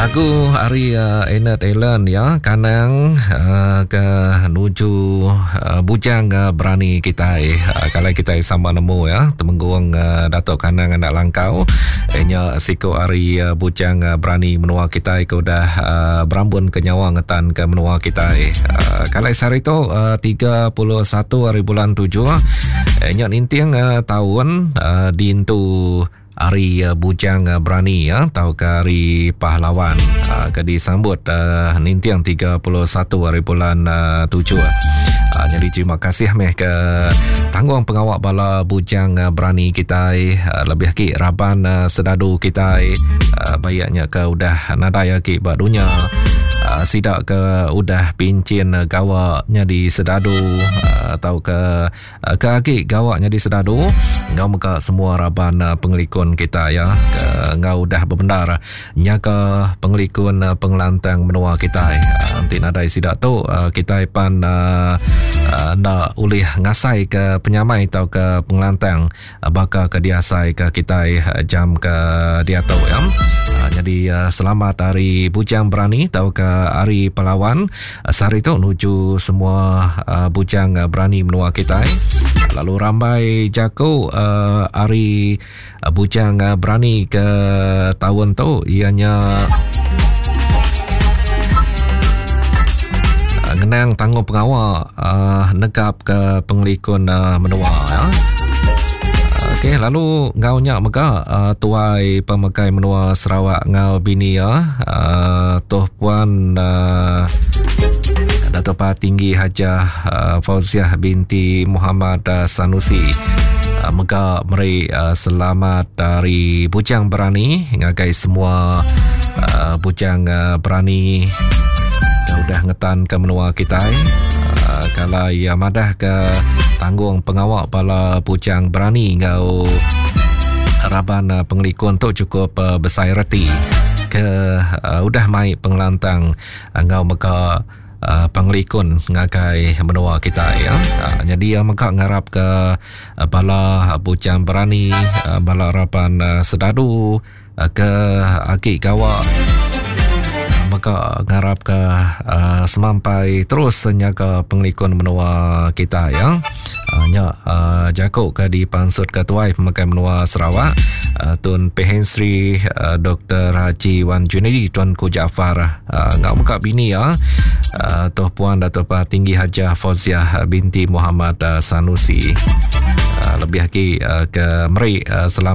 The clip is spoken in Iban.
Lagu ari uh, Enet Ellen ya kanang uh, ke nuju uh, bujang uh, berani kitai uh, kalau kitai sama nemu ya temenggung uh, Datuk Kanang anak Langkau nya siku ari uh, bujang uh, berani menua kitai ke udah uh, berambun ke nyawa ngetan ke menua kitai uh, kalau sehari tu uh, 31 hari bulan 7 nya ninting uh, tahun uh, diintu Hari Bujang Berani tauka Hari Pahlawan ke disambut ninting 31 hari bulan 7. Jadi terima kasih meh ke tanggung pengawa bala bujang berani kitai lebih agi raban sedadu kitai bayaknya ke udah nadai agi ba dunya sida ke udah pinchin gawa nyadi sedadu tauka Ke agi gawa nyadi sedadu enggau mega semua raban pengelikun kita ya ke enggau udah bebendar nyaga pengelikun pengelantang menua kitai. Enti nadai sida tu kitai pan enda ulih ngasai ke penyamai tauka pengelantang baka ke diasai ke kitai jam ke diatu ya. Nyadi selamat hari Bujang Berani tauka hari Pahlawan. Sehari tu nuju semua bujang berani menua kitai. Lalu rambai jaku hari Bujang Berani ke taun tu ianya ngenang tanggung pengawa negap ke pengelikun menua ya. Okey, lalu enggau nya mega uh, tuai pemegai menua Sarawak enggau bini iya uh, Toh Puan uh, Dato' Patinggi Hajah uh, Fauziah binti Muhammad uh, Sanusi uh, mega meri uh, selamat dari Bujang Berani ngagai semua uh, Bujang uh, Berani udah ngetan ke menua kitai uh, kalau ia madah ke tanggung pengawa bala Bujang Berani enggau raban uh, pengelikun tu cukup uh, besai reti ke uh, udah mai pengelantang enggau mega uh, pengelikun ngagai menua kitai ya. Uh, jadi ia mega ngarap ke uh, bala bujang berani, uh, bala raban uh, sedadu uh, ke agi gawa mega ngarap ke uh, semampai terus nyaga pengelikun menua kita ya. Uh, nya uh, jaku ke dipansut ke tuai pemakai menua Sarawak uh, Tun Pehin Sri uh, Dr. Haji Wan Junaidi Tuan Ku Jaafar uh, ngau mega bini ya uh, Toh Puan Dato' Tinggi Hajah Fauziah binti Muhammad uh, Sanusi uh, lebih lagi uh, ke meri uh, selamat.